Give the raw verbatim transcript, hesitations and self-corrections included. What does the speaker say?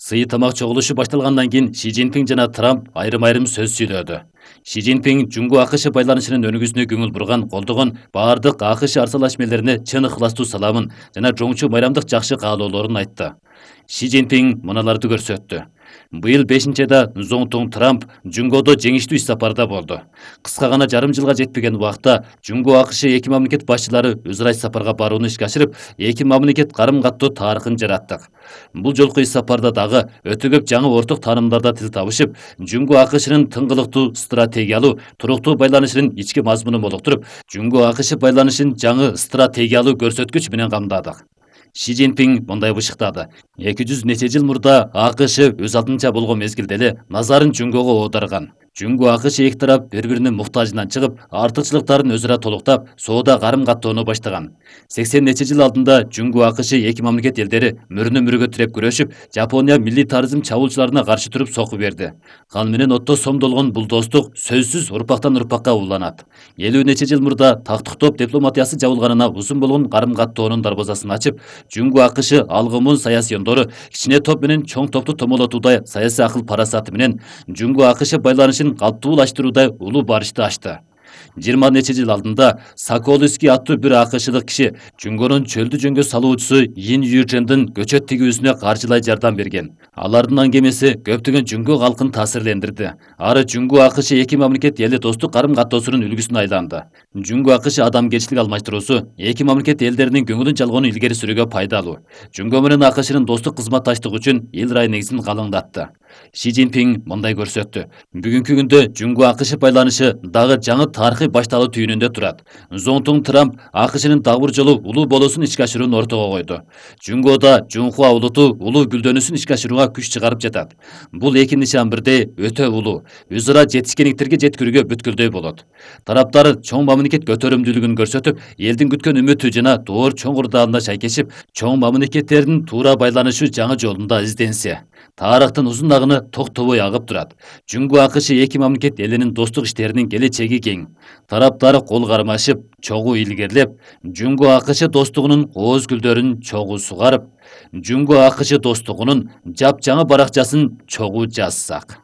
Сый тамак чогулушу башталгандан кийин Си Цзиньпин жана Трамп айрым-айрым сөз сүйлөдү. Си Цзиньпин Жунго АКШ байланышынын өнүгүүсүнө көңүл бурган, колдогон баардык АКШ арсалашмелерине чын ыхластуу саламын жана жоңчу майрамдык жакшы каалоолорун айтты. Си Цзиньпин мыналарды көрсөттү. Быйыл бешинчи айда Зоңтун Трамп Жунгодо жеңиштүү иш сапарда болду. Кыска гана жарым жылга жетпеген убакта Жунго АКШ эки мамлекет башчылары өз ара иш сапарга барууну ишке ашырып, эки мамлекет карым-каттоо тарыхын жараттык. Бул жолку иш сапарда дагы өтө көп жаңы орток таанымдарда тил табышып, Жунго АКШнын тыңгылыктуу стратегиялуу, туруктуу байланышынын ички мазмунун молуктуруп, Жунго АКШ байланышын жаңы стратегиялуу көрсөткүч менен камдадык. Си Цзиньпин мындай бышыктады. эки жүз нече жыл мурда АКШ өз алдынча болгон мезгилде эле назарын Жунгого оодарган. Жунго АКШ эки тарап бири-биринин муктажынан чыгып, артыкчылыктарын өзара толуктап, соода карым-каттоону баштаган. сексен нече жыл алдында Жунго АКШ эки мамлекет элдери мөрүнө-мөрүгө тиреп күрөшүп, Жапония милитаризм чабуулчуларына каршы туруп сокку берди. Кан менен отто сомдолгон бул достук сөзсүз урпактан урпакка уланат. элүү нече жыл мурда тактыктоп дипломатиясы жабылганына узун болгон карым-каттоонун дарбазасын ачып, Жунго АКШ алгымын саясий ондору кичине топ менен чоң топту томолотуудай саясий акыл парасаты менен Жунго АКШ байланышын калптуулаштыруудай улуу барышты ачты. жыйырма нече жыл алдында Соколовский аттуу бир АКШдык киши Жунгонун чөлдү жөнгө салуучусу Ин Ючендин көчөт тигүүсүнө каржылай жардам берген. Алардын аңгемеси көптөгөн Жунго калкын таасирлендирди. Ары Жунго АКШ эки мамлекет эли достук карым-каттоосунун үлгүсүнө айланды. Жунго АКШ адамгерчилик алмаштыруусу эки мамлекет элдеринин көңүлүн жалгоону илгери сүрүүгө пайдалуу. Жунго менен АКШнын достук кызматташтыгы үчүн эл рай негизин калыңдатты. Си Цзиньпин мындай көрсөттү. Бүгүнкү күндө Жунго АКШ байланышы дагы жаңы тарыхый башталуу түйүнүндө турат. Зоңтун Трамп АКШнын дагы бир жолу улуу болуусун ишке ашырууну ортого койду. Жунгода Жунхуа улуту улуу гүлдөнүүсүн ишке ашырууга күч чыгарып жатат. Бул эки нишан бирдей өтө улуу, өз ара жетишкендиктерге жеткирүүгө бүткүлдөй болот. Тараптар чоң мамлекет көтөрүмдүүлүгүн көрсөтүп, элдин күткөн үмүтү жана доор чоң урдаалына шайкешип, чоң мамлекеттердин туура байланышы жаңы жолунда изденсе, тарыхтын узун агыны токтобой агып турат. Жунго АКШ эки мамлекет элинин достук иштеринин келечеги кең. Тараптар кол кармашып, чогуу илгерлеп, Жунго АКШ достугунун кооз гүлдөрүн чогуу сугарып, Жунго АКШ достугунун жапжаңы баракчасын чогуу жазсак.